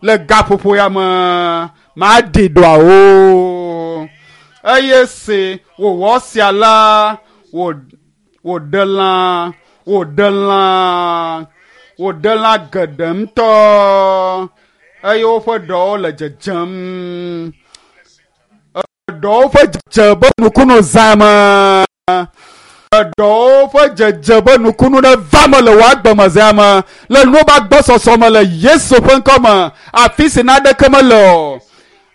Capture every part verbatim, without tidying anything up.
Le gaƒoƒo ya me maɖi ɖɔawo eye si wòwɔ sia la wòɖe lã wòɖe lã wòɖe lã geɖe ŋutɔ eye woƒe ɖɔwo le dzedzem. Ɖɔwo ƒe dzedze be nukunu zã me. Ɖɔwo ƒe dzedze be nukunu ɖe va me le wò agbeme zã me le nuwo ƒe agbɔsɔsɔ me le Yesu ƒe ŋkɔ me afi si naneke mele o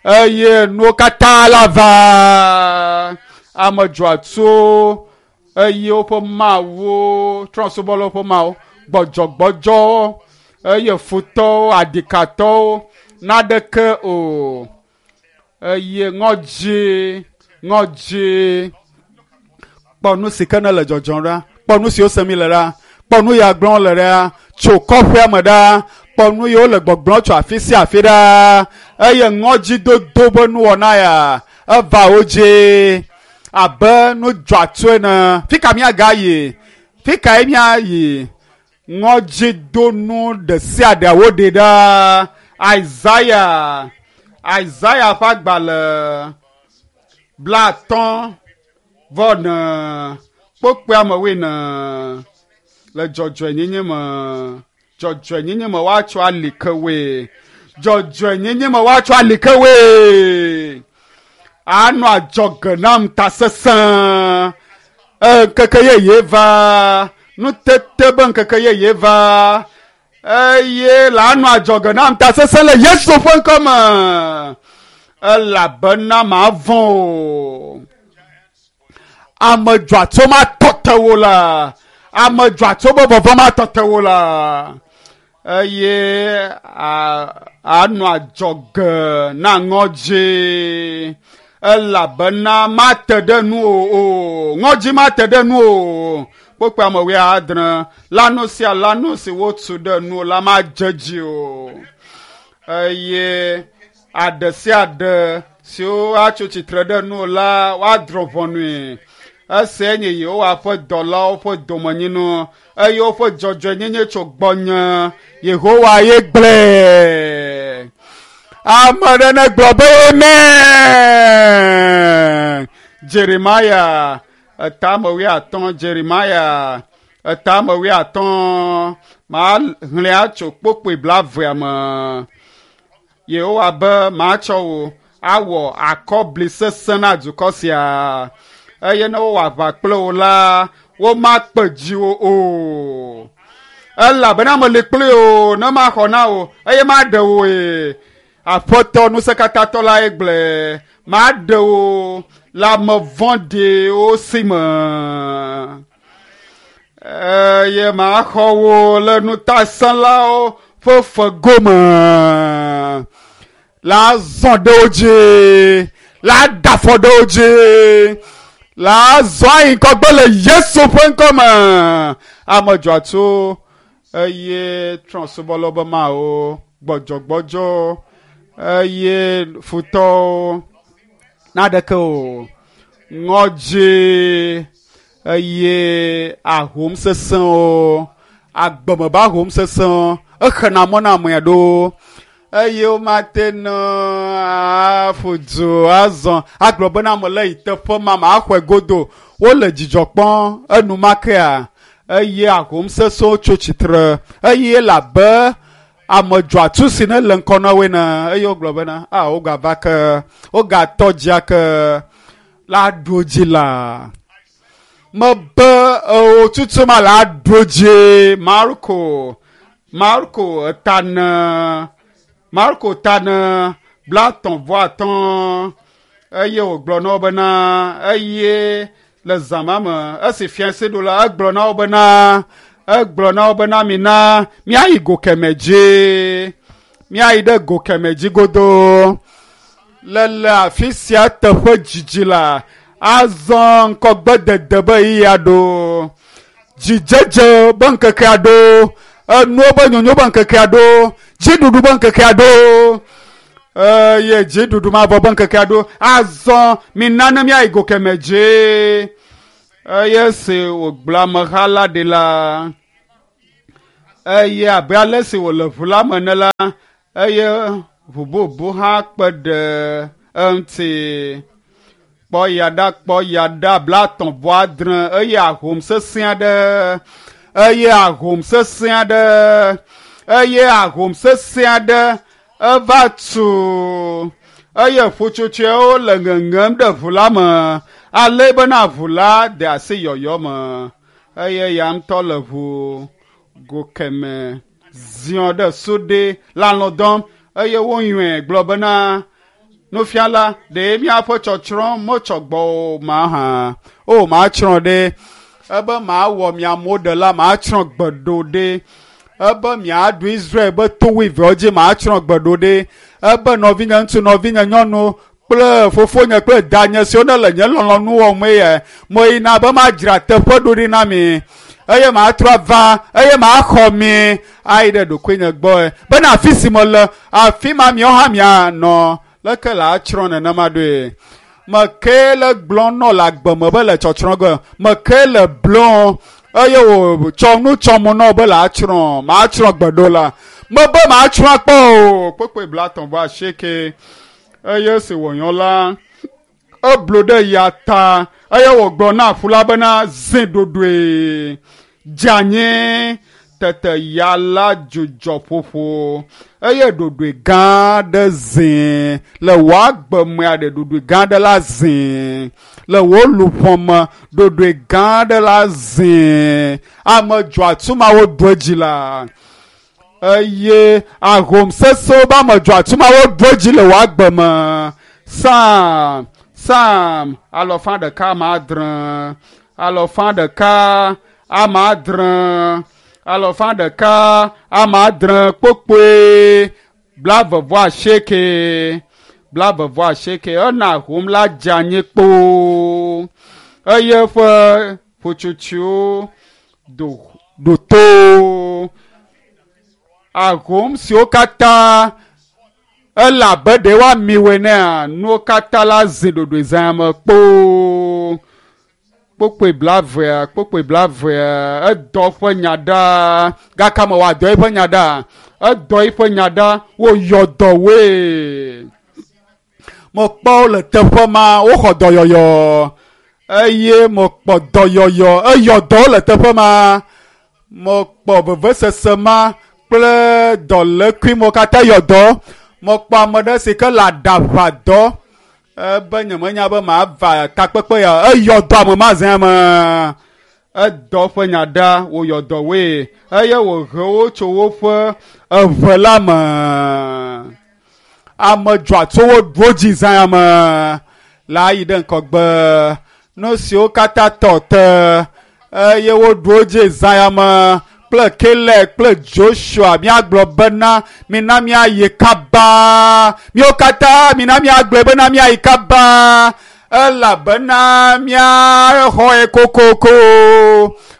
eye nuwo katã la va. Ame dzɔatsuwo eye woƒe mawuwo trɔ̃subɔlawo ƒe mawu gbɔdzɔgbɔdzɔwo eye futɔwo aɖikatɔwo naneke o eye ŋɔdzi ŋɔdzi kpɔ nu si ke ne le dzɔdzɔm ɖa kpɔ nu siwo sem le ɖa kpɔ nu ya gblɔm le ɖa tso kɔƒea me ɖa kpɔ nu yiwo le gbɔgblɔm tso afi sia afi ɖa eye ŋɔdzidodo be nuwɔna ya eva wo dzi abe nu dzɔatsu ene fi ka míagayi fi kae míayi ŋɔdzidonu ɖe sia ɖe woɖe ɖa Isaiah Isaiah ƒe agbalẽ blaatɔ̃ vɔ ne kpokpoe ame wuiene le dzɔdzɔenyenye me dzɔdzɔenyenye me woatsɔ ali ke woe dzɔdzɔenyenye me woatsɔ ali ke woe anɔ adzɔge nam tasesẽ ŋkeke yeye va nutete be ŋkeke yeye va eye la anɔ adzɔge nam tasesẽ le Yesu ƒe ŋkɔ me elabena mavɔ̃ o. Ame dzɔatso matɔ te wo la ame dzɔatso be vɔvɔ̃ matɔ te wo la eye anɔ adzɔge na ŋɔdzi elabena mate ɖe nu o o ŋɔdzi mate ɖe nu o kpokpe ame wuiadre lanu sia lanu si wotu ɖe nu la madze dzi o eye aɖe sia aɖe siwo atso tsitre ɖe nu la woadrɔ̃ ʋɔnui esia nye Yehowa ƒe dɔlawo ƒe domenyinu eye woƒe dzɔdzɔenyenye tso gbɔnye Yehowa ye gblɔe. Ame ɖe negblɔ be amen. Jeremia etame wuiatɔ̃ Jeremia etame wuiatɔ̃ maxlẽa tso kpokpoe blaevea me. Yehowa be matsɔ wò awɔ akɔbli sesẽ na dukɔ sia eye ne wowɔ aʋa kple wò la womakpe dziwò o elabena meli kpli wò ne maxɔ na wò eye maɖe wòe. Aƒetɔ ŋusẽkatãtɔ la ye gblɔe maɖe wò le ame vɔ̃ɖiwo si me eye maxɔ wò le ŋutasẽlawo ƒe fegome la zɔ ɖe wo dzi la da afɔ ɖe wo dzi la zɔ ayi ŋgɔgbe le Yesu ƒe ŋkɔ me. Ame dzɔatsu eye trɔ̃subɔlawo be mawo gbɔdzɔgbɔdzɔ eye futɔwo naneke o ŋɔdzi eye ahom sesẽwo agbeme be ahom sesẽwo exena mɔ na ame aɖewo eye womate ŋu aƒo du azɔ agblɔ bena mele yi teƒe ma maxɔe godo wole dzidzɔ kpɔm enumakea eye ahom sesẽwo tso tsitre eye le abe ame dzɔatsu si ne le ŋkɔ na woe ne eye wogblɔ bena a wogava ke wogatɔ dzia ke la ɖu dzi la mebe ewo tutu ma la ɖu dzi Marko Marko etane Marko tane blaetɔ̃ vɔ atɔ̃ eye wògblɔ na wo bena eye le zã ma me esi fiase ɖo la egblɔ na wo bena egblɔ na wo bena mina míayi go kemɛ dzi míayi ɖe go kemɛ dzi godoo le le afi sia teƒe dzidzi la azɔ ŋkɔgbedede be ɣeyiɣia ɖo dzidzedze be ŋkekea ɖo enuwo be nyonyo be ŋkekea ɖo dziɖuɖu be ŋkekea ɖo eye dziɖuɖu mavɔ be ŋkekea ɖo azɔ mina ne míayi go kemɛ dzi eye si wògblɔ ameha la ɖi la Eye abe ale si wòle ʋu la me ene la, eye ʋu bubu hã kpe ɖe eŋuti. Kpɔ ya ɖa, kpɔ ya ɖa, blaetɔ̃ vɔ adre eye ahom sesẽ aɖe, eye ahom sesẽ aɖe, eye ahom sesẽ aɖe eva tu eye ƒutsotsoewo le ŋeŋem ɖe ʋu la me ale bena ʋu la de asi yɔyɔ me eye ya ŋutɔ le ʋu go keme ziɔ ɖe suɖe le alɔ̃ dɔm eye woyɔe gblɔ bena nufiala ɖe míaƒe tsɔtsrɔ̃ metsɔ gbɔ o mahã o matsrɔ̃ ɖe ebe mawɔ miamewo ɖela matsrɔ̃ gbeɖo ɖe ebe miaɖu Israel be to wuieveawo dzi matsrɔ̃ gbeɖo ɖe ebe nɔvinye ŋutsu nɔvinye nyɔnu kple fofonye kple danye siwo ne le nye lɔlɔ̃nu wɔm eye meyina be madzra teƒe ɖo ɖi na mi eye matrɔ ava eye maxɔ mi ayi ɖe ɖokuinye gbɔe bena afi si mele afi ma miawo hã mianɔ leke le atsrɔ̃ nenema ɖoe meke le gblɔ nɔ le agbe me be le tsɔtsrɔ̃ ge meke le blɔ eye wòtsɔ nu tsɔm nɔ be le atsrɔ̃ matsrɔ̃ gbeɖo la mebe matsrɔ̃ akpɔ o kpekpe blaetɔ̃ vɔ asieke eye esi wònyɔ la eblu ɖe ya ta eye wògblɔ na aƒu la bena zi ɖoɖoe dze anyi tete ya la dzudzɔ ƒoƒo eye ɖoɖoe gã aɖe zi le wò agbe mea ɖe ɖoɖoe gã aɖe la zi le wò luʋɔ me ɖoɖoe gã aɖe la zi ame dzɔatsumawo ɖu edzi la eye ahom sesẽwo be ame dzɔatsumawo ɖu edzi le wò agbe me Psalm Psalm alɔfa ɖeka ame adre alɔfa ɖeka ame adre alɔfa ɖeka ame adre kpokpoe blaeve vɔ asieke blaeve vɔ asieke ena ahom la dze anyi kpoo eye eƒe ƒutsotsoewo do ɖo to ahom siwo katã ele abe ɖe woami woe nea nuwo katã la zi ɖoɖoe zã me kpoo kpokpoe blaevea kpokpoe blaevea edɔ ƒe nya ɖa gake me wòadɔ eƒe nya ɖa edɔ eƒe nya ɖa woyɔ dɔ woe mekpɔ wo le teƒe ma woxɔ dɔyɔyɔ eye mekpɔ dɔyɔyɔ eyɔ dɔ wo le teƒe ma mekpɔ vevesese ma kple dɔlékui mo katã yɔ dɔ mekpɔ ame ɖe si ke le aɖaʋa dɔ ebe nyemenya be mava takpekpe ya eyɔ dɔ ame ma zã me edɔ ƒe nya ɖa wòyɔ dɔ woe eye wòhe wo tso woƒe eʋe la me ame dzɔatsowo ɖo dzi zã me la yi ɖe ŋgɔgbe nu siwo katã tɔ te eye woɖo dzi zã me kple Caleb kple Joshua míagblɔ bena mina míayi kaba míawo katã mina míagblɔe bena míayi kaba elabena míaxɔe kokoko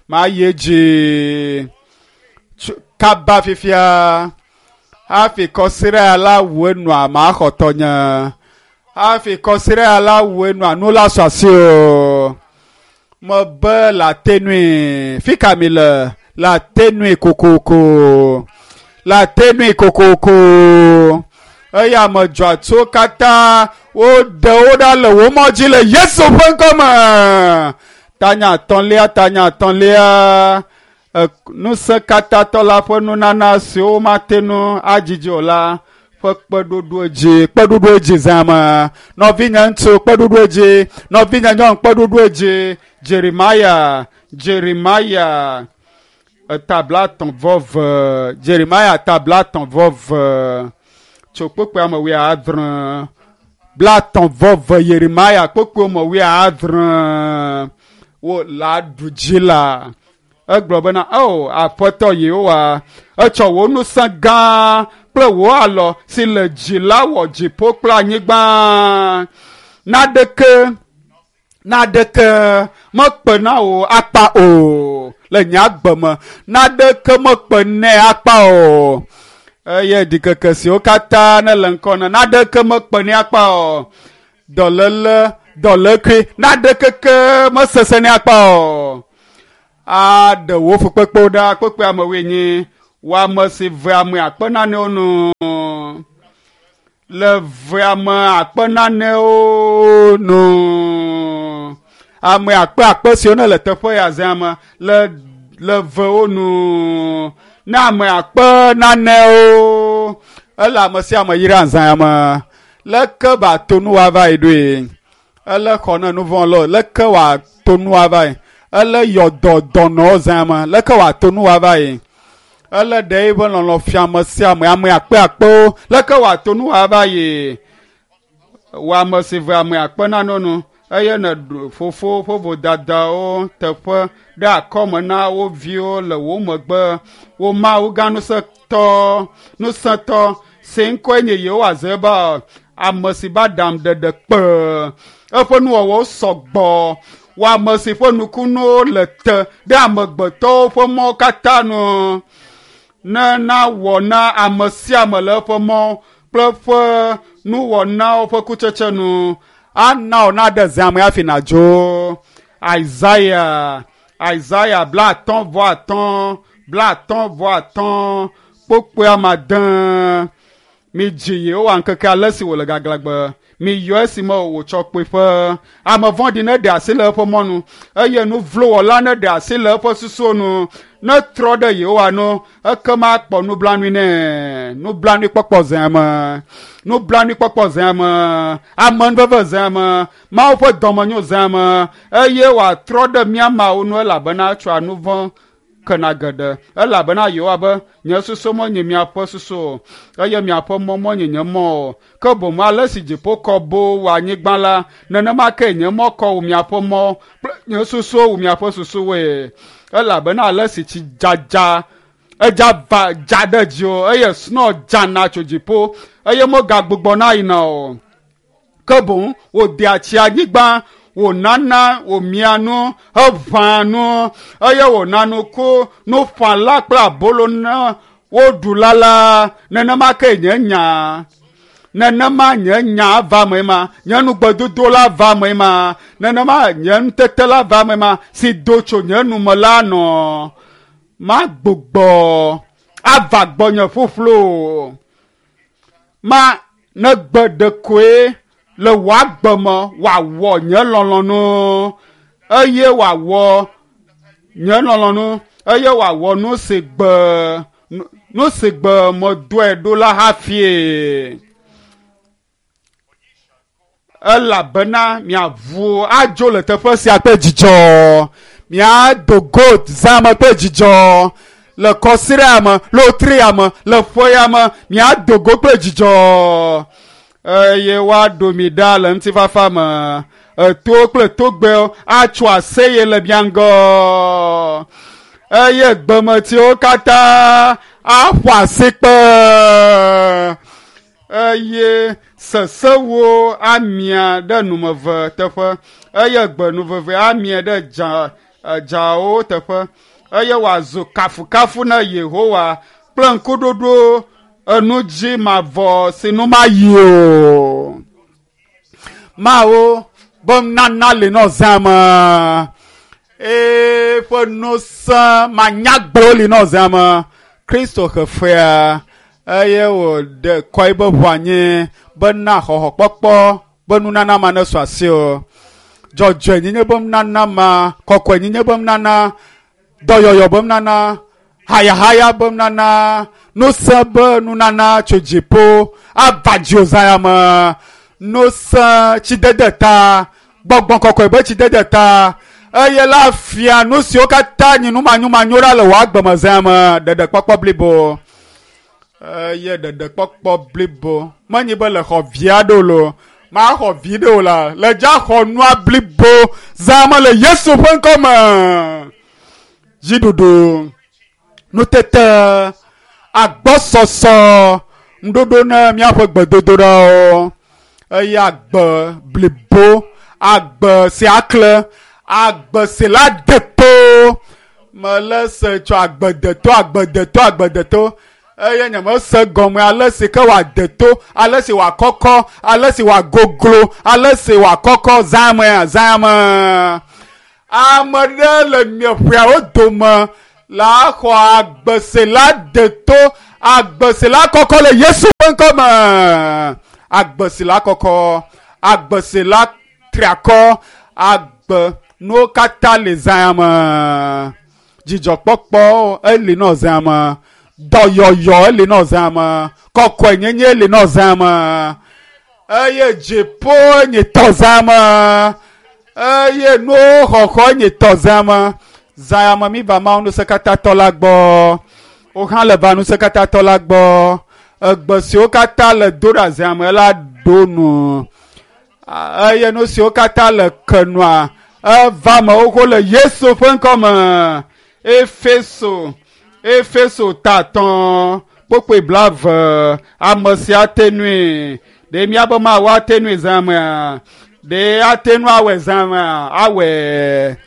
mayi edzi kaba fifia hafi kɔsiɖa la wu enua maxɔ tɔnye hafi kɔsiɖa la wu enua nu la sɔ asi o mebe la tenui fi ka mi le la tenui kokoko la tenui kokoko eye ame dzɔatsuwo katã woɖe wo ɖa le wo mɔ dzi le Yesu ƒe ŋkɔme tanya atɔ̃lia tanya atɔ̃lia ŋusẽkatãtɔ la ƒe nunana siwo womate ŋu adzidzi o la ƒe kpeɖoɖo dzi kpeɖoɖo dzi zã me nɔvinye ŋutsu kpeɖoɖo dzi nɔvinye nyɔnu kpeɖoɖo dzi Jeremaya Jeremaya eta blaetɔ̃ vɔ eve Jeremaya ta blaetɔ̃ vɔ eve tso kpokpoe ame wuiadre blaetɔ̃ vɔ eve Yeremaya kpokpoe ame wuiadre wo la ɖu dzi la egblɔ bena o Aƒetɔ Yehowa etsɔ wò ŋusẽ gã kple wò alɔ si le dzi la wɔ dziƒo kple anyigba naɖeke naɖeke mekpe na wò akpa o le nye agbe me naɖeke mekpe nɛ akpa o eye ɖikeke siwo katã ne le ŋkɔ na naɖeke mekpe nɛ akpa o dɔléle dɔlékui naɖeke ke mesesẽ nɛ akpa o aɖe wò fukpekpewo ɖa kpekpe ame wuienyi Wò ame si ve ame akpe nanewo nu. Le ve ame akpe nanewo nu. Ame akpe akpe siwo ne le teƒe ya zã me le le vewo nu. Ne ame akpe nanewo ele ame sia ame yra zã me. Leke ba to nu wa va yi ɖoe. Ele xɔ ne nu vɔ̃ lɔ. Leke wa to nu wa va yi. Ele yɔ dɔ dɔnɔwo zã me. Leke wa to nu wa va yi. Ele ɖe eƒe lɔlɔ fia ame sia ame ame akpe akpewo. Leke wa to nu wa va yi. Wò ame si ve ame akpe nanewo nu. Eye ne ɖu fofo ƒe vodadawo teƒe ɖe akɔme na wo viwo le wo megbe. Wo Mawu gã ŋusẽtɔ ŋusẽtɔ si ŋkɔe nye Yehowa Zebaot, ame si ba ɖam ɖeɖe kpe. Eƒe nuwɔwɔwo sɔgbɔ. Wò ame si ƒe nukunuwo le te ɖe amegbetɔwo ƒe mɔwo katã nu. Ne nawɔ na ame sia ame le eƒe mɔ kple eƒe nuwɔnawo ƒe kutsetse nu. Ana wò naɖe zã me hafi nàdzo. Isaiah Isaiah bla atɔ̃ vɔ atɔ̃ bla atɔ̃ vɔ atɔ̃ kpokpoe ame ade. Midzi Yehowa ŋkeke ale si wòle gaglãgbe. Miyɔ esime wòtsɔ kpuiƒe. Ame vɔ̃ɖi neɖe asi le eƒe mɔnu eye nu vlo wɔla neɖe asi le eƒe susuwo nu. Netrɔ ɖe Yehowa nu ekema akpɔ nublanui nɛ. Nublanuikpɔkpɔ zã me. Nublanuikpɔkpɔ zã me. Amenuveve zã me. Mawu ƒe dɔmenyo zã me. Eye wòatrɔ ɖe mía Mawu nu elabena etsɔa nu vɔ̃ kena geɖe. Elabena Yehowa be nye susu menye miaƒe susu o eye miaƒe mɔ menye nye mɔ o. Ke boŋ ale si dziƒo kɔ boo wu anyigba la, nenema ke nye mɔ kɔ wu miaƒe mɔ kple nye susuwo wu miaƒe susuwoe. Elabena ale si tsi dzadza edza va dza ɖe dziwò eye snow dzana tso dziƒo eye megagbugbɔna yina o. Ke boŋ wòdea tsi anyigba, wònana wòmia nu, heʋãa nu eye wòna nuku nuƒãla kple abolo na woɖula la. Nenema ke nye nya. Nenema nye nya va eme ma, nye nugbedodo la va eme ma, nenema nye nutete la va eme ma, si do tso nye nume la nɔ. Magbugbɔ ava gbɔnye ƒuƒlu. Ma negbe ɖekoe le wò agbe me wòawɔ nye lɔlɔ̃nu eye wòawɔ nye lɔlɔ̃nu eye wòawɔ nu si gbe nu si gbe medoe ɖo la hafi. Elabena miaʋu adzo le teƒe sia kple dzidzɔ. Miado go zã me kple dzidzɔ. Le kɔsiɖa me, le wetria me, le ƒea me, miado go kple dzidzɔ. Eye woaɖo mi ɖa le ŋutifafa me. Etowo kple togbɛwo atso aseye le mia ŋgɔ. Eye gbemetiwo katã aƒo asikpe. Eye sesewo amia ɖe numeve teƒe eye gbenuveve amia ɖe dza dzawo teƒe eye wòazu kafukafu na Yehowa kple ŋkuɖoɖo enu dzi mavɔ si nu mayi o. Mawu be nana li nɔ zã me. Eƒe ŋusẽ manyagblɔ li nɔ zã me. Kristo xe fea eye wòɖe kɔ eƒe ʋu anyi bena xɔxɔkpɔkpɔ be nunana ma nesu asiwò. Dzɔdzɔenyenye be nunana ma, kɔkɔenyenye be nunana, dɔyɔyɔ be nunana, hayahaya be nunana, ŋusẽ be nunana tso dziƒo ava dziwò zã ya me. Ŋusẽ tsidede ta, gbɔgbɔ kɔkɔe be tsidede ta eye la fia nu siwo katã nye numanyomanyo ɖa le wò agbe me zã ya me. Ɖeɖekpɔkpɔ blibo. Eye ɖeɖekpɔkpɔ blibo. Menye be le xɔ vi aɖewo loo, maxɔ vi ɖe o la, le dza xɔ nua blibo zã me le Yesu ƒe ŋkɔ me. Dziɖuɖu, nutete, agbɔsɔsɔ, ŋuɖoɖo ne míaƒe gbedodoɖawo eye agbe blibo, agbe si akle, agbe si la de to. Mele se tso agbe deto, agbe deto, agbe deto. Eye nyemese gɔme ale si ke wòade to, ale si wòakɔkɔ, ale si wòagoglo, ale si wòakɔkɔ zã mea, zã me. Ame ɖe le miaƒeawo dome La xɔ agbese la deto agbese la kɔkɔ le Yesu ƒe ŋkɔme. Agbese la kɔkɔ, agbese la triakɔ, agbe nuwo katã le zã me. Dzidzɔkpɔkpɔ eli nɔ zã me. Dɔyɔyɔ eli nɔ zã me. Kɔkɔenyenye eli nɔ zã me. Eye dziƒo nye tɔ zã me. Eye nuwo xɔxɔ nye tɔ zã me. Zã me mi va Mawu ŋusẽkatãtɔ la gbɔ. Wo hã le va ŋusẽkatãtɔ la gbɔ. Egbe siwo katã le do ɖa zã me la ɖo nu. Eye nu siwo katã le kenua eva me xoxo le Yesu ƒe ŋkɔme. Efeso Efeso ta atɔ̃ kpokpoe blaeve ame sia ate nui. Ɖe míabe Mawu ate nui zã mea? Ɖe ate nu awɔe zã mea? Awɔe.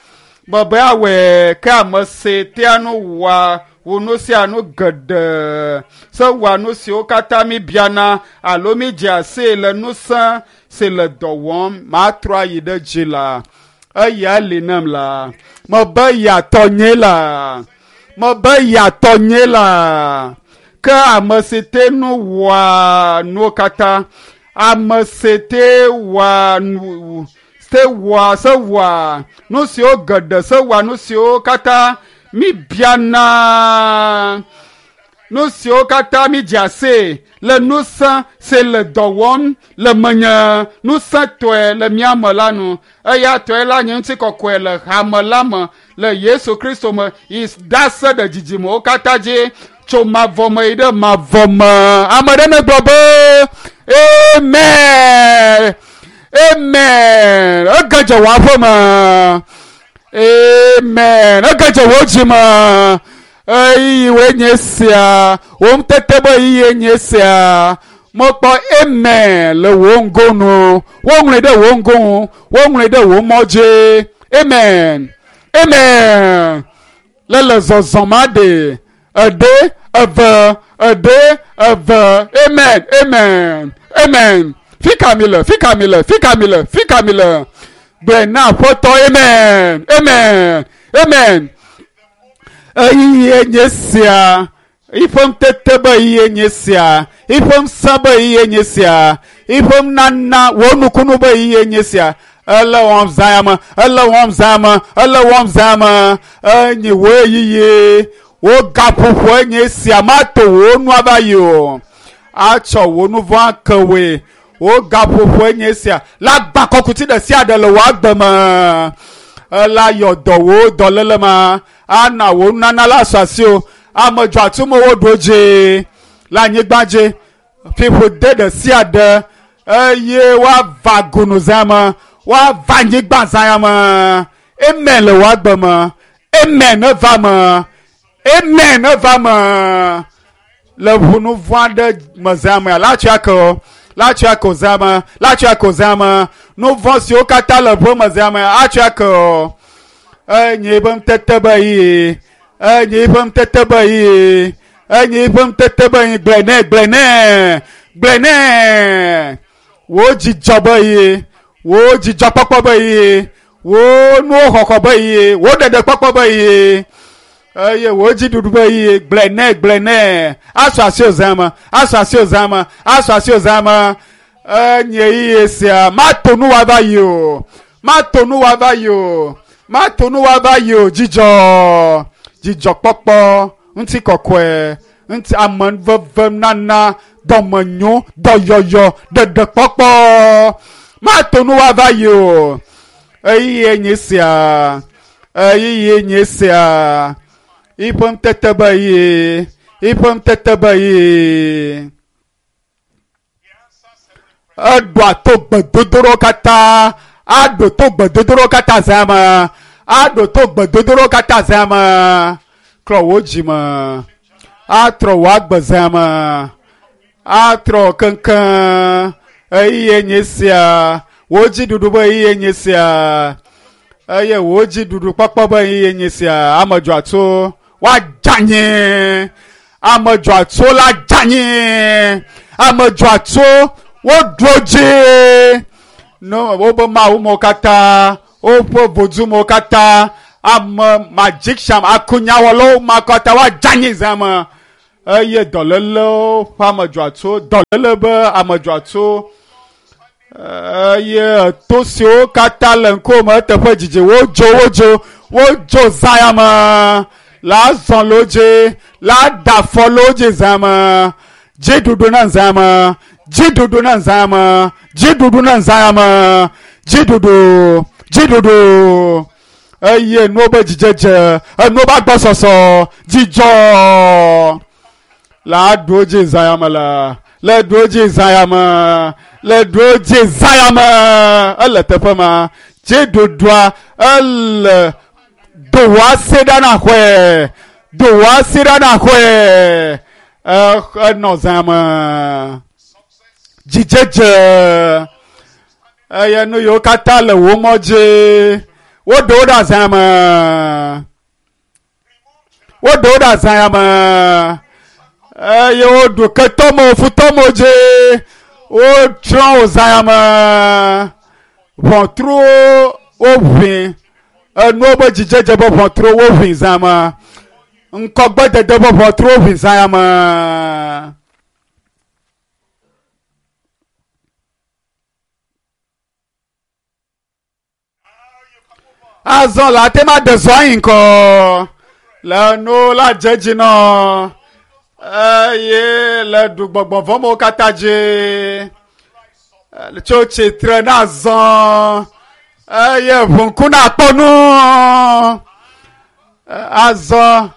Bebe awɔe ke ame si tea nu wɔa wò nu sia nu geɖe se wɔa nu siwo katã mi biana alo mi dzea sii le ŋusẽ si le dɔ wɔm matrɔ ayi ɖe dzi la. Eya li nem la. Mebe yatɔ nye la. Mebe yatɔ nye la. Ke ame si te nu wɔa nuwo katã, ame si te wɔa nu se wɔa se wɔa nu siwo geɖe se wɔa nu siwo katã mi biana nu siwo katã mi dzea sii le ŋusẽ si le dɔ wɔm le menye ŋusẽtɔe le mía me la nu. Eya tɔe la nye ŋutikɔkɔe le hame la me le Yesu Kristo me yi ɖase ɖe dzidzimewo katã dzi tso mavɔ me yi ɖe mavɔ me. Ame ɖe negblɔ be amen, amen. Ege dze wò aƒe me. Amen. Ege dze wò dzi me. Eyi woe nye sia. Wò ŋutete be eyi nye sia. Mekpɔ amen le wò ŋgonu. Woŋlɔe ɖe wò ŋgonu. Woŋlɔe ɖe wò mɔ dzi. Amen. Amen. Le le zɔzɔm aɖe. Eɖe, eve, eɖe, eve. Amen. Amen. Amen. Fika mi le, fika mi le, fika mi le, fika mi le. Gblɔe na Aƒetɔ. Amen. Amen. Amen. Eyi nye sia. Iƒe ŋutete be eyi nye sia. Iƒe ŋusẽ be eyi nye sia. Iƒe nana wò nukunu be eyi nye sia. Ele wɔm zã me. Ele wɔm zã me. Ele wɔm zã me. Enyi wò eyiyi. Wò gaƒoƒo enye sia. Mato wò nu ava yi o. Atsɔ wò nu vɔ̃ ake woe. Wò gaƒoƒo enye sia. La gba kɔkuti ɖe sia ɖe le wò agbe me. Ela yɔ dɔ wò dɔléle ma. Ana wò nunana la sɔ asi o. Ame dzɔatsumewo ɖo dzi le anyigba dzi. Fiƒode ɖe sia ɖe eye woava gunu zã me. Woava anyigba zã me. Amen le wò agbe me. Amen neva me. Amen neva me. Le ʋunu vɔ̃ aɖe me zã me la tsɔe ake o. La tsɔe ake o zã me. La tsɔe ake o zã me. Nu vɔ̃ siwo katã le ʋe me zã me atsɔe ake o. Enye eƒe ŋutete be yi. Enye eƒe ŋutete be yi. Enye eƒe ŋutete be yi. Gblɔe nɛ, gblɔe nɛ, gblɔe nɛ. Wò dzidzɔ be yi. Wò dzidzɔkpɔkpɔ be yi. Wò nuwo xɔxɔ be yi. Wò ɖeɖekpɔkpɔ be yi. Eye wò dziɖuɖu be yi. Gblɔe nɛ, gblɔe nɛ. Asɔ asi o zã me. Asɔ asi o zã me. Asɔ asi o zã me. Enye ɣeyiɣi sia. Mato nu wòava yi o. Mato nu wòava yi o. Mato nu wòava yi o. Dzidzɔ, dzidzɔkpɔkpɔ, ŋutikɔkɔe, ŋuti ameveve nana, dɔmenyo, dɔyɔyɔ, ɖeɖekpɔkpɔ. Mato nu wòava yi o. Ɣeyiɣi nye sia. Ɣeyiɣi nye sia. Iƒe ŋutete be yi. Iƒe ŋutete be yi. Eɖoa to gbedodoɖawo katã. Aɖo to gbedodoɖawo katã zã me. Aɖo to gbedodoɖawo katã zã me. Klɔ wò dzi me. Atrɔ wò agbe zã me. Atrɔ keŋkeŋ. Ɣeyiɣi nye sia. Wò dziɖuɖu be ɣeyiɣi nye sia. Eye wò dziɖuɖu kpɔkpɔ be ɣeyiɣi nye sia. Ame dzɔatso woadze anyi. Ame dzɔatso la dze anyi. Ame dzɔatso woɖo dzi. No wobe Mawu mewo katã, woƒe vodumewo katã Ame magician akunyawɔlawo ma katã woadze anyi zã me eye dɔlélewo ƒe amedzɔatso dɔléle be amedzɔatso eye to siwo katã le ŋkuwòme eteƒe dzidzi wodzo wodzo wodzo zã ya me la zɔ le wo dzi la da afɔ le wo dzi zã me dziɖuɖu na zã me dziɖuɖu na zã me dziɖuɖu na zã ya me dziɖuɖu dziɖuɖu eye nuwo be dzidzedze enuwo be agbɔsɔsɔ dzidzɔ la ɖu wo dzi zã ya me la le ɖu wo dzi zã ya me le ɖu wo dzi zã ya me ele teƒe ma dziɖuɖua ele do wò asi ɖa na xɔe do wò asi ɖa na xɔe enɔ zã me dzidzedze eye nu yiwo katã le wò mɔ dzi woɖe wo ɖe zã me woɖe wo ɖe zã ya me eye woɖu ketɔme futɔme dzi wotsrɔ̃ wo zã ya me ʋɔtruwo woʋĩ enuwo be dzidzedze be ʋɔtruwo woʋĩ zã me ŋkɔgbedede be ʋɔtruwo ʋĩ zã ya me. Azɔ la ate ma ɖe zɔ anyi ŋkɔ le nu la dze dzi nɔ eye le ɖu gbɔgbɔ vɔ̃wo katã dzi tso tsitre na zɔ eye ʋuŋku nakpɔ nu azɔ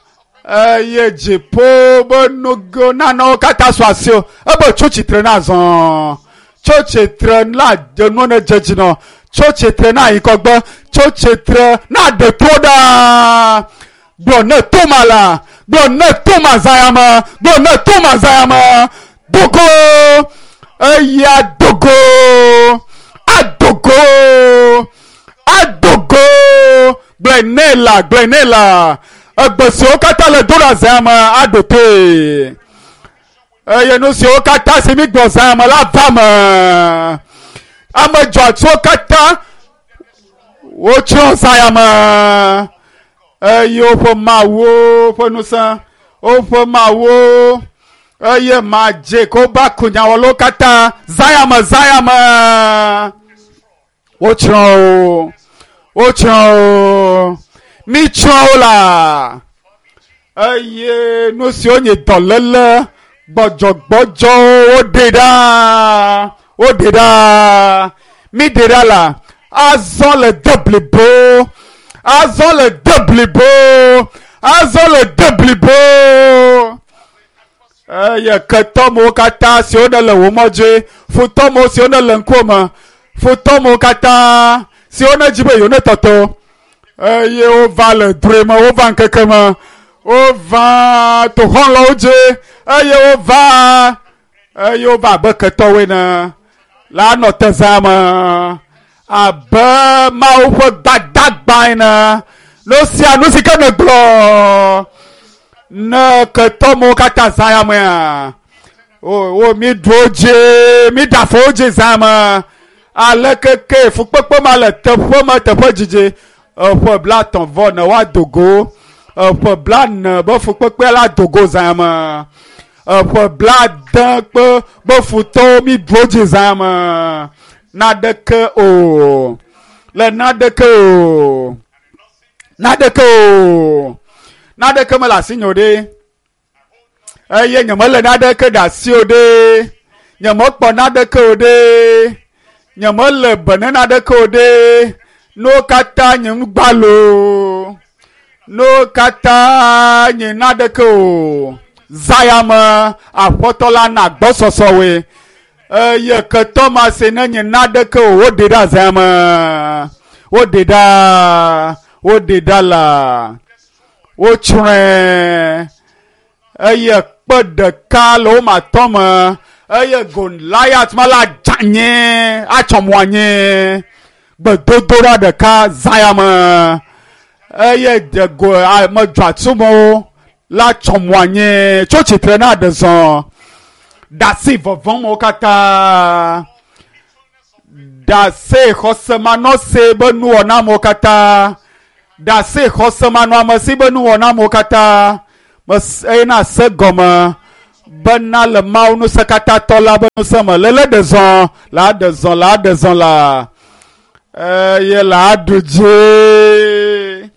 eye dziƒo be nugo nanewo katã su asi o ebe tso tsitre na zɔ tso tsitre na nuwo ne dze dzi nɔ tso tsitre na yi kɔgbe tso tsitre na ɖe to ɖa gblɔ ne toma la gblɔ ne toma zã ya me gblɔ ne toma zã ya me dogo eya dogo adogo adogo gblɔe ne la gblɔe ne la egbe siwo katã le do ɖa zã ya me aɖo toe eye nu siwo katã si mi gblɔ zã ya me la va me ame dzɔatsuwo katã wotsrɔ̃ zã ya me eye woƒe mawuwo ƒe ŋusẽ woƒe mawuwo eye madze ko ba kunyawɔlawo katã zã ya me zã ya me wotsrɔ̃ wo wotsrɔ̃ wo mitsrɔ̃ wo la eye nu siwo nye dɔléle gbɔdzɔgbɔdzɔwo woɖe ɖa woɖe ɖa miɖe ɖa la azɔ le de blibo azɔ le de blibo azɔ le de blibo eye ketɔmewo katã siwo ne le wò mɔ dzi futɔmewo siwo ne le ŋkuwò me futɔmewo katã siwo ne dzi be yewo ne tɔtɔ eye wova le drɔ̃e me wova ŋkeke me wova toxɔlɔwo dzi eye wova eye wova abe ketɔwoe ne la nɔ te zã me abe Mawu ƒe gbadagba ene nu sia nu si ke ne gblɔ ne ketɔmewo katã zã ya mea wo wo mi ɖu wo dzi mi ɖe afɔ wo dzi zã me aleke ke fukpekpe ma le teƒe me teƒe dzidzi eƒe blatɔ̃ vɔ ne woado go eƒe blane be fukpekpe la do go zã me eƒe blade kpe be futɔwo mi ɖu wo dzi zã me naɖeke o le naɖeke o naɖeke o naɖeke mele asinye o ɖe eye nyemele naɖeke ɖe asi o ɖe nyemekpɔ naɖeke o ɖe nyemele be ne naɖeke o ɖe nuwo katã nye nugbalo nuwo katã nye naɖeke o zã ya me aƒetɔ la na gbɔsɔsɔwoe eye ketɔ ma si ne nye naɖeke o woɖe ɖa zã me woɖe ɖa woɖe ɖa la wotsrɔ̃e eye kpe ɖeka le wo ma tɔ me eye Goliath ma la dze anyi atsɔ mo anyi gbedodoɖa ɖeka zã ya me eye go ame dzɔatsumewo la tsɔ mo anyi tso tsitre na ɖe zɔ ɖasi vɔvɔ̃mewo katã ɖase xɔsemanɔse be nuwɔnamewo katã Ɖase xɔsemanɔamesi be nuwɔna amewo katã eye na se gɔme bena le Mawu ŋusẽkatãtɔ la be ŋusẽ me lele ɖe zɔ la ɖe zɔ la ɖe zɔ la eye la ɖu dzi.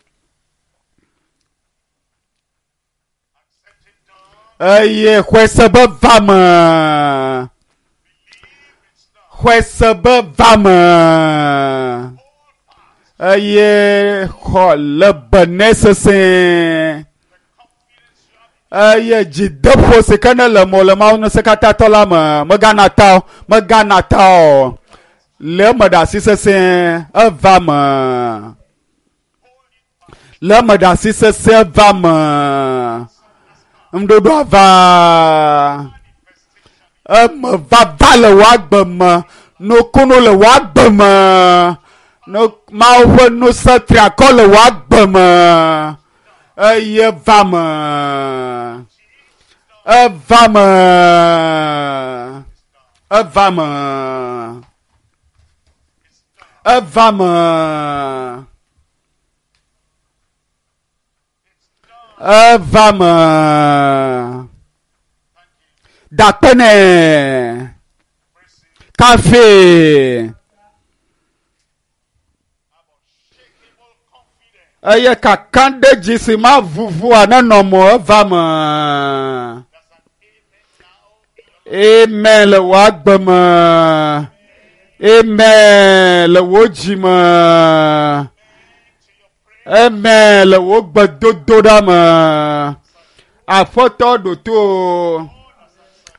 Eye xɔe se be va me. Xɔe se be va me. Eye xɔ le bene sesẽ. Eye dzideƒo si ke ne le mo le Mawu ŋusẽkatãtɔ la me megana ta o, megana ta o. Le eme ɖe asi sesẽ eva me. Le eme ɖe asi sesẽ eva me. Ŋuɖoɖoa va. Eme vava le wò agbe me. Nukunu le wò agbe me. Mawu ƒe ŋusẽ triakɔ le wò agbe me. Eye va me. Eva me. Eva me. Eva me. Eva me. Dakpene. Kafe. Eye kakaɖedzi si ma vuvua nenɔ mo eva me. Amen le wò agbe me. Amen le wò dzi me. Amen le wò gbedodoɖa me. Aƒetɔ ɖo to o.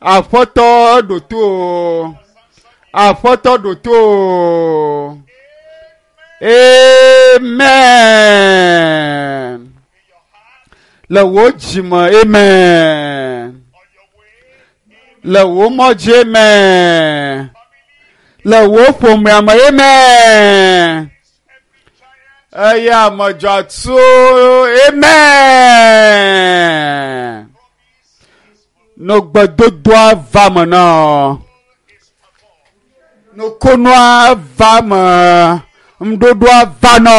Aƒetɔ ɖo to o. Aƒetɔ ɖo to o. Amen. Le wò dzi me, amen. Le wò mɔ dzi, amen. Le wò ƒomea me, amen. Eye ame dzɔatsu, amen. Nugbedodoa va me na. Nukunua va me. Ŋuɖoɖoa va nɔ.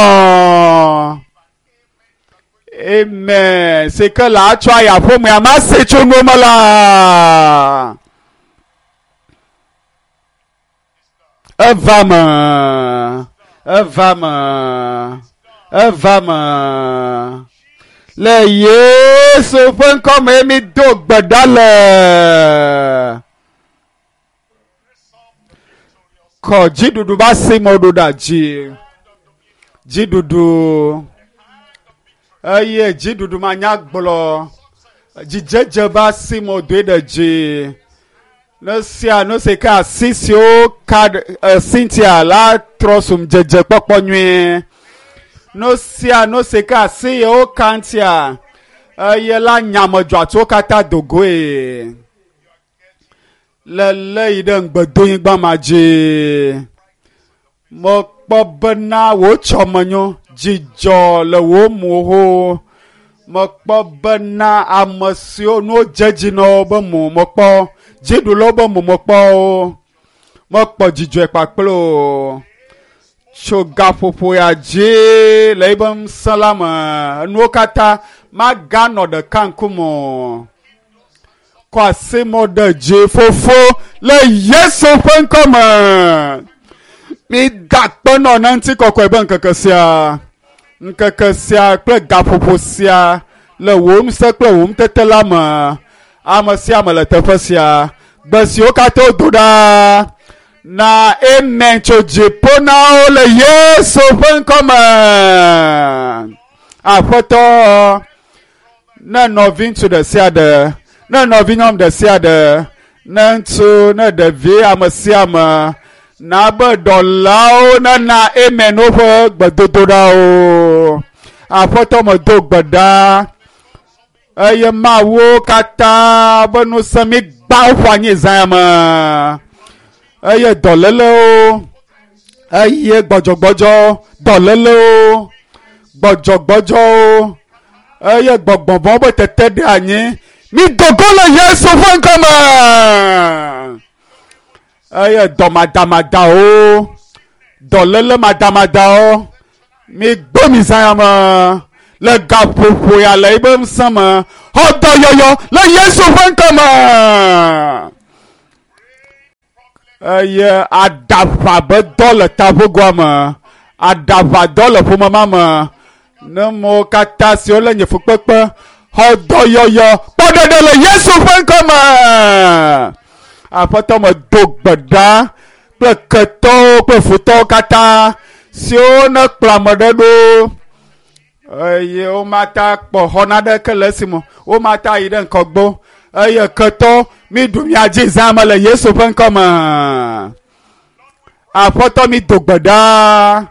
Amen. Si ke le atsɔ ayaƒomea ma se tso nu me la. Eva me. Eva me. Eva me. Le Yesu ƒe ŋkɔme mi do gbe ɖa le. Kɔ dziɖuɖu be asi me ɖo ɖa dzi. Dziɖuɖu. Eye dziɖuɖu ma nya gblɔ. Dzidzedze be asi me doe ɖe dzi. Ne sia nu si ke asi siwo ka Cynthia la trɔ sum dzedze kpɔkpɔ nyuie. Nu sia nu si ke asi yewo ka ŋutia eye la nyamedzɔatsuwo katã do goe. Le lé yi ɖe ŋugbedonyigba ma dzi. Mekpɔ bena wò tsɔmenyo dzidzɔ le wò moho. Mekpɔ bena ame siwo nuwo dze dzi na wo be mo mekpɔ dziɖulawo be mo mekpɔ wo. Mekpɔ dzidzɔe kpakple o. Tso gaƒoƒo ya dzi le ebe ŋusẽ la me nuwo katã maganɔ ɖeka ŋkume o. Kɔ asi mɔ ɖe dzi fofo le Yesu ƒe ŋkɔme. Mi da akpe nɔ na ŋutikɔkɔe be ŋkeke sia. Ŋkeke sia kple gaƒoƒo sia le wò ŋusẽ kple wò ŋutete la me. Ame sia ame le teƒe sia. Gbe siwo katã wodo ɖa na amen tso dziƒo na wo le Yesu ƒe ŋkɔme. Aƒetɔ, ne nɔviŋutsu ɖe sia ɖe, ne nɔvinyɔnu ɖe sia ɖe, ne ŋutsu, ne ɖevi, ame sia ame, na be dɔlawo nena amen woƒe gbedodoɖawo. Aƒetɔ medo gbe ɖa eye Mawu katã be ŋusẽ mi gbã woƒo anyi zã me. Eye dɔlélewo, eye gbɔdzɔgbɔdzɔ, dɔlélewo, gbɔdzɔgbɔdzɔwo, eye gbɔgbɔvɔ̃wo be tete ɖe anyi. Mi do go le Yesu ƒe ŋkɔme. Eye dɔmadamadawo, dɔléle madamadawo, Mi gbɔ mi zã ya me le gaƒoƒo ya le ebe ŋusẽ me xɔ dɔyɔyɔ le Yesu ƒe ŋkɔ me. Eye aɖaʋa be dɔ le taƒogoa me, aɖaʋa dɔ le ƒome ma me. Ne mo katã siwo le nye fukpekpe xɔ dɔyɔyɔ kpɔ ɖeɖe le Yesu ƒe ŋkɔ me. Aƒetɔ me do gbe ɖa kple ketɔwo kple futɔwo katã siwo ne kplɔ ame ɖe ɖo eye womata kpɔ xɔ naɖeke le esime womata yi ɖe ŋkɔgbo eye ketɔ mi ɖu mia dzi zã me le Yesu ƒe ŋkɔ me. Aƒetɔ mi do gbe ɖa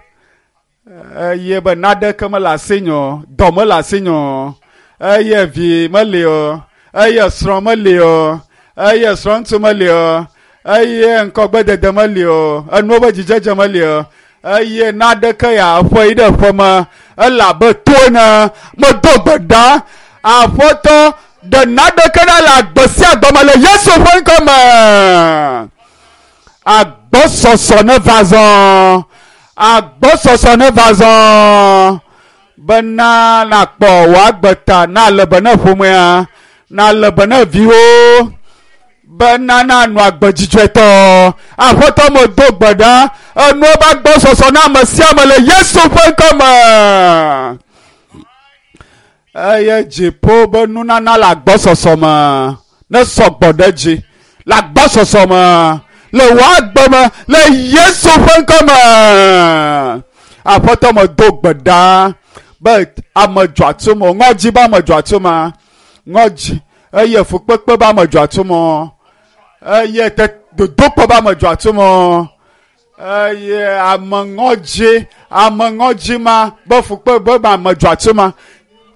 eye be naɖeke mele asinye o, dɔ mele asinye o, eye vi meli o, eye srɔ̃ meli o, eye srɔ̃ŋutsu meli o, eye ŋkɔgbedede meli o, enuwo be dzidzedze meli o, eye naɖeke ya ƒe yi ɖe ƒe me ele abe to ene. Medo gbe ɖa, Aƒetɔ ɖe naɖeke ɖa le agbe sia agbe me le Yesu ƒe ŋkɔ me. Agbɔsɔsɔ ne va zɔ, agbɔsɔsɔ ne va zɔ bena nakpɔ wò agbe ta, na le be ne ƒomea, na le be ne viwo, bena nanɔ agbe dzidzɔetɔ. Aƒetɔ medo gbe ɖa, enuwo be agbɔsɔsɔ na ame sia ame le Yesu ƒe ŋkɔ me. Eye dziƒo be nunana le agbɔsɔsɔ me ne sɔgbɔ ɖe dzi le agbɔsɔsɔ me le wò agbe me le Yesu ƒe ŋkɔ me. Aƒetɔ medo gbe ɖa be ame dzɔatsume, ŋɔdzi be ame dzɔatsume, ŋɔdzi eye fukpekpe be ame dzɔatsume, eye te dodokpɔ be ame dzɔatsume, eye ame ŋɔdzi, ame ŋɔdzi ma be fukpe be ame dzɔatsume,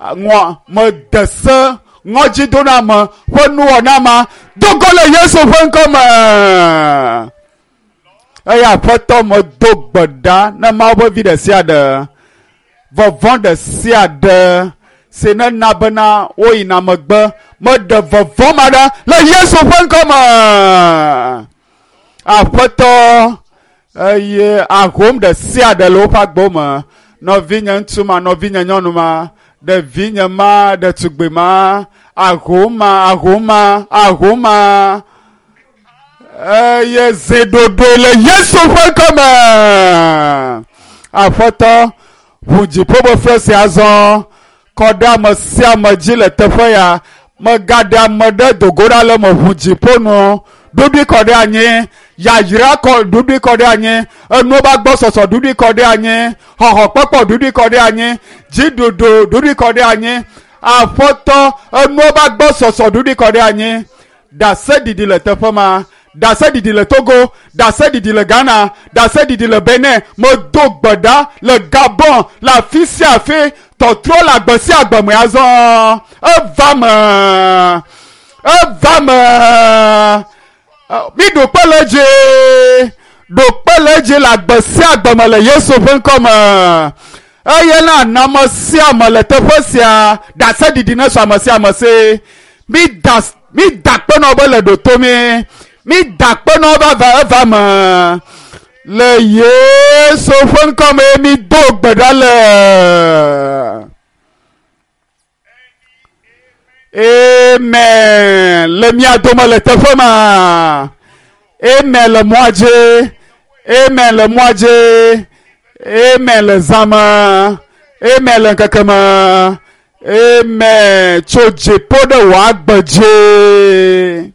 ŋɔ mede se ŋɔdzi do na ame ƒe nuwɔna ma do go le Yesu ƒe ŋkɔ me. Eye Aƒetɔ medo gbe ɖa ne Mawu ƒe vi ɖe sia ɖe, vɔvɔ̃ ɖe sia ɖe si ne na bena woyina megbe, meɖe vɔvɔ̃ ma ɖa le Yesu ƒe ŋkɔ me. Aƒetɔ eye ahom ɖe sia ɖe le woƒe agbewo me, nɔvinye ŋutsu ma, nɔvinye nyɔnu ma, ɖevinye ma, ɖetugbi ma, ahom ma, ahom ma, ahom ma, eye zi ɖoɖoe le Yesu ƒe ŋkɔ me. Aƒetɔ ʋu dziƒo be fiase azɔ kɔ ɖe ame sia ame dzi le teƒe ya. Megaɖe ame ɖe dogo ɖa le me ʋu dziƒo nu ɖuɖui kɔ ɖe anyi, yayra kɔ ɖuɖui kɔ ɖe anyi, enuwo be agbɔsɔsɔ ɖuɖui kɔ ɖe anyi, xɔxɔkpɔkpɔ ɖuɖui kɔ ɖe anyi, dziɖuɖu ɖuɖui kɔ ɖe anyi. Aƒetɔ enuwo be agbɔsɔsɔ ɖuɖui kɔ ɖe anyi. Ɖaseɖiɖi le teƒe ma, ɖaseɖiɖi le Togo, ɖaseɖiɖi le Ghana, ɖaseɖiɖi le Benin. Medo gbe ɖa le Gabon, le afi sia afi, tɔtrɔ le agbe sia agbe me azɔ. Eva me, eva me. Mi ɖo kpe le dzi, ɖo kpe le dzi le agbe sia agbe me le Yesu ƒe ŋkɔ me. Eye na na ame sia ame le teƒe sia, ɖaseɖiɖi ne sɔ ame sia ame si. Mi da mi da kpe nɔ be le ɖoto mi, mi da kpe nɔ be eva eva me le Yesu ƒe ŋkɔ me. Mi do gbe ɖa le. Amen. Le mia dome le teƒe ma. Amen le mɔa dzi. Amen le mɔa dzi. Amen le zã me. Amen le ŋkeke me. Amen tso dziƒo ɖe wò agbe dzi.